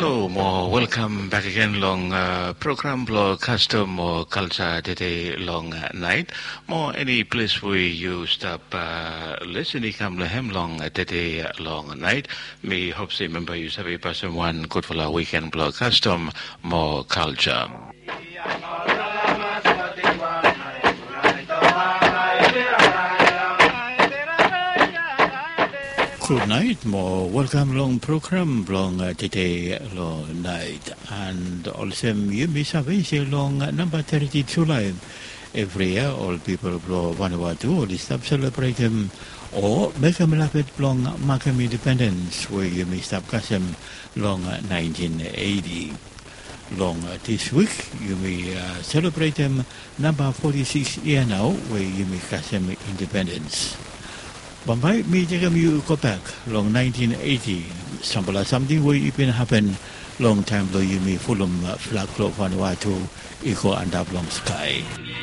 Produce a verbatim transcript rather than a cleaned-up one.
So mo welkam bek agen long program blong kastom o kalsa tede long nait. Mo eni ples we yu stap lesen i kam long hem long tede long nait, mi hop se memba yu save pasim wan gudfala wiken blong kastom mo kalsa. Gudnait mo welkam long program blong tede long nait. And olsem yumi save se long namba teti Julai evri yia ol pipol blong Vanuatu oli stap selebretem o mekem lafet blong makem indipendens we yumi stap kasem long naentin eiti. Long dis wik yumi selebretem namba foti sikis yia nao we yumi kasem indipendens. Bambae mi tekem yu gobek long naentin eiti, sampela samting we i bin hapen long taem blong yumi fulum flag blong Vanuatu i go antap long skae.